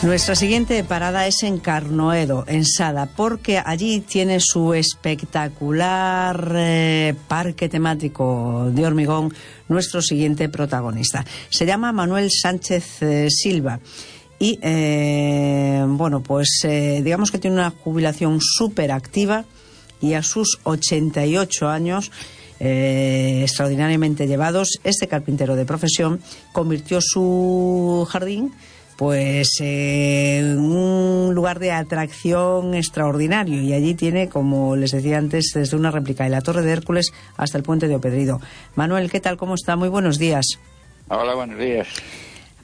Nuestra siguiente parada es en Carnoedo, en Sada, porque allí tiene su espectacular parque temático de hormigón nuestro siguiente protagonista. Se llama Manuel Sánchez Silva y, digamos que tiene una jubilación súper activa y a sus 88 años, extraordinariamente llevados, este carpintero de profesión convirtió su jardín en un lugar de atracción extraordinario, y allí tiene, como les decía antes, desde una réplica de la Torre de Hércules hasta el puente de Opedrido. Manuel, ¿qué tal? ¿Cómo está? Muy buenos días. Hola, buenos días.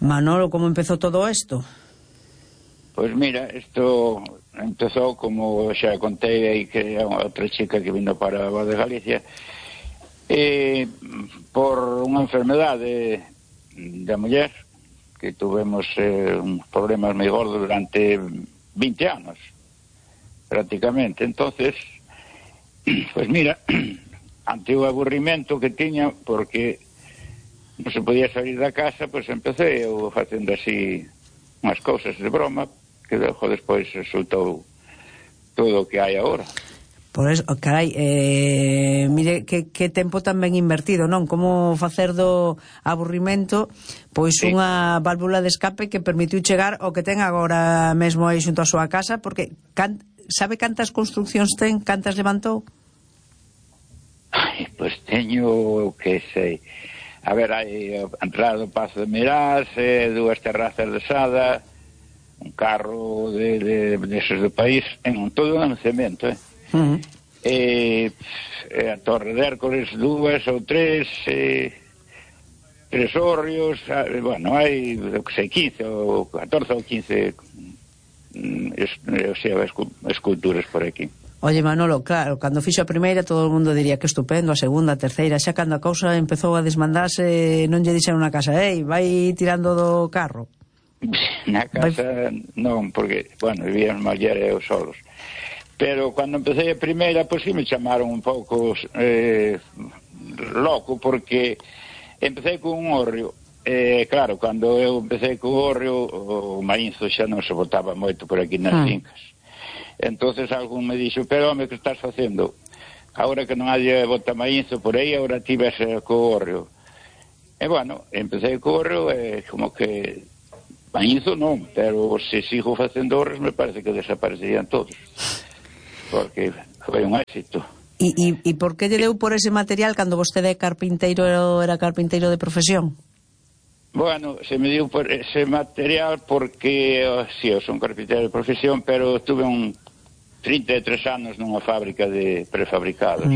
Manolo, ¿cómo empezó todo esto? Pues mira, esto empezó, como xa contei aí, que é outra chica que vino para a Voz de Galicia, por unha enfermedade da muller, que tuvemos uns problemas moi gordos durante 20 anos, prácticamente. Entonces, pues mira, ante o aburrimento que tiña, porque non se podía salir da casa, pues empecé eu facendo así unhas cousas de broma, que despois resultou todo o que hai agora. Por eso, carai, mire que tempo tan ben invertido, non? Como facer do aburrimento pois sí, unha válvula de escape que permitiu chegar ao que ten agora mesmo aí xunto a súa casa, porque sabe cantas construccións ten, cantas levantou? Ai, pois teño, que sei, a ver, hai a entrada do Pazo de Meirás, dúas terrazas de Sada, un carro deses do país, en todo un cemento, a Torre de Hércules, dúas ou tres hórreos, bueno, hai, que sei, 15 ou 14 ou 15 esculturas por aquí. Oye, Manolo, claro, cando fixo a primeira todo o mundo diría que estupendo, a segunda, a terceira, xa cando a cousa empezou a desmandarse, non lle dixeron na casa, vai tirando do carro? Na casa non, porque, bueno, vivían muller e os solos. Pero cando empecé a primeira, pois sí me chamaron un pouco loco, porque empecé con un hórreo. Claro, cando eu empecé con o hórreo, o maínzo xa non se botaba moito por aquí nas fincas. Entonces algún me dixo, pero home, que estás facendo? Agora que non hai bota maínzo por aí, agora ti ves co hórreo. E bueno, empecé co hórreo, como que maínzo non, pero se sigo facendo hórreos me parece que desaparecerían todos, porque foi un éxito. E por que lle deu por ese material cando vostede era carpinteiro de profesión? Bueno, se me deu por ese material porque, sí, eu son carpinteiro de profesión, pero tuve 33 anos nunha fábrica de prefabricados.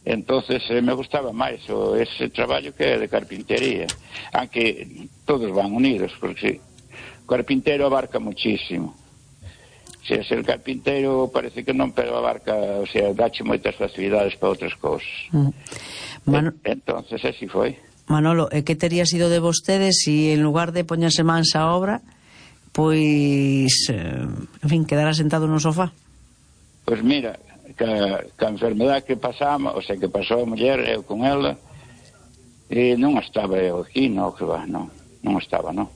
Entonces me gustaba máis ese traballo que é de carpintería, aunque todos van unidos, porque o carpinteiro abarca muchísimo. Se é ser carpinteiro parece que non, pero abarca, o sea, dache moitas facilidades para outras cousas. Entonces así foi. Manolo, e que tería sido de vostedes se en lugar de poñerse mans a obra, pois, en fin, quedara sentado no sofá? Pois mira, que a enfermedade que pasamos, o sea, que pasou a muller, eu con ela, non estaba eu aquí, non estaba, non.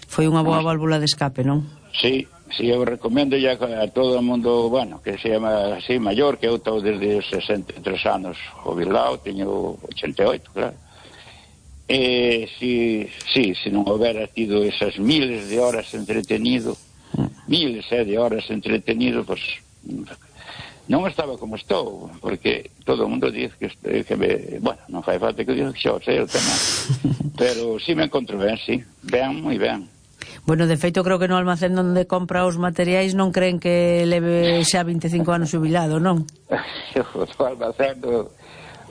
Foi unha boa válvula de escape, non? Sí, eu recomendo ya a todo o mundo, bueno, que se llama así, maior, que eu estou desde os 63 anos jubilado, teño 88, claro. Se non houbera tido esas miles de horas entretenido, pues non estaba como estou, porque todo o mundo dice que bueno, non fai falta que diga que xa o sei o tema, pero si me encontro ben, si, ben, moi ben. Bueno, de feito, creo que no almacén onde compra os materiais non creen que leve xa 25 anos jubilado, non?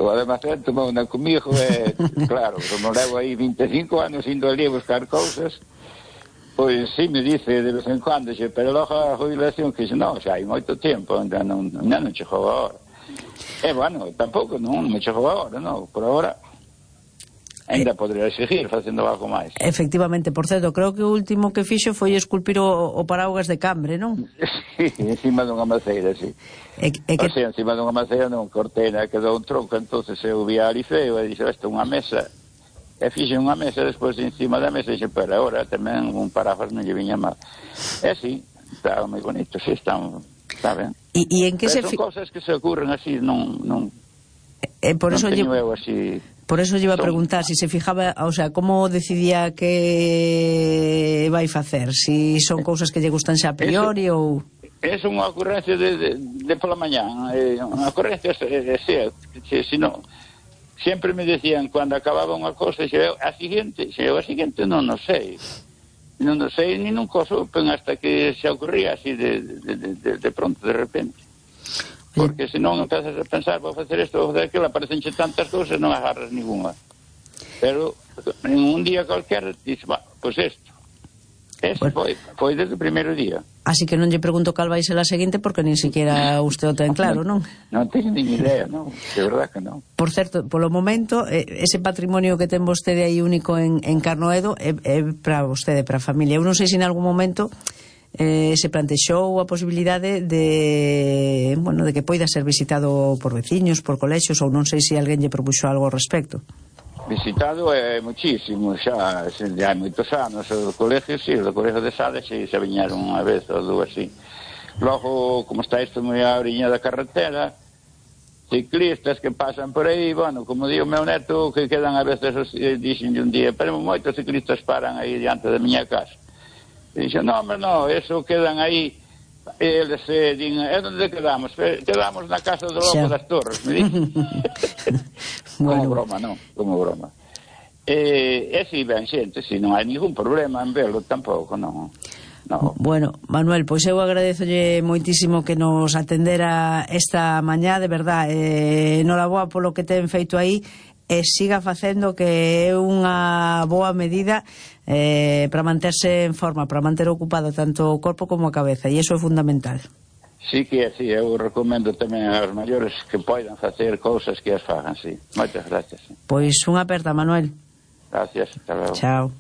O almacén tomou unha comigo e, claro, como levo aí 25 anos indo ali a buscar cousas, pois sí me dice de vez en cuando, pero logo a jubilación, que non, xa hai moito tempo, non chegou agora. E, bueno, tampouco non me chegou agora, non, por agora ainda podría seguir facendo algo máis. Efectivamente, por certo, creo que o último que fixo foi esculpir o paraugas de Cambre, non? Sí, encima dunha maceira, sí. O sea, encima dunha maceira non cortei, quedou un tronco, entonces eu vi ali feo e dixe, isto é unha mesa, E fixe unha mesa, despois encima da mesa, dixe, pero agora tamén un parafas non lle viña mal. E sí, está moi bonito, sí, está ben. E en que pero se... son cosas que se ocurren así, non por eso teño eu así... Por eso lle iba a preguntar se se fijaba, o sea, como decidía que vai facer, si son cousas que lle gustan xa a priori ou... É unha ocurrencia de pola mañán, unha ocurrencia, senón... Sempre me decían, cando acababa unha cosa, a seguinte non o sei. Non o sei, ni nunca o supen hasta que se ocurría así de pronto, de repente. Porque se non empezas a pensar, vou facer isto, vou facer aquilo, aparecenche tantas cousas, non agarras ninguna. Pero en un día cualquier, dices, pois isto. Ese foi desde o primeiro día. Así que non lle pregunto cal vai ser a seguinte, porque nin siquiera usted o ten claro, non? Non teño nin idea, non, de verdad que non. Por certo, polo momento, ese patrimonio que ten vostede aí único en Carnoedo é para vostede, para a familia. Eu non sei se en algún momento se plantexou a posibilidade de que poida ser visitado por veciños, por colexios, ou non sei se alguén lle propuxo algo ao respecto. Visitado é muchísimo, xa hai moitos anos, o colegio, sí, o colegio de Sade xa viñeron unha vez ou dúas, así. Logo, como está isto moi a oriña da carretera, ciclistas que pasan por aí, bueno, como digo o meu neto, que quedan a veces, dixen un día, pero moitos ciclistas paran aí diante da miña casa. E dixen, non, eso quedan aí, eles din, é onde quedamos? Quedamos na casa do Lobo das Torres, me dixen. Como broma, non, como broma. E si ben xente, si non hai ningún problema en velo tampouco, non. Bueno, Manuel, pois eu agradezolle moitísimo que nos atendera esta mañá, de verdad, enhoraboa polo que ten feito aí, e siga facendo, que é unha boa medida para manterse en forma, para manter ocupado tanto o corpo como a cabeza, e iso é fundamental. Sí que é así, eu recomendo tamén aos maiores que poidan facer cousas que as fagan, sí. Moitas gracias. Pois unha aperta, Manuel. Gracias, hasta logo. Chao.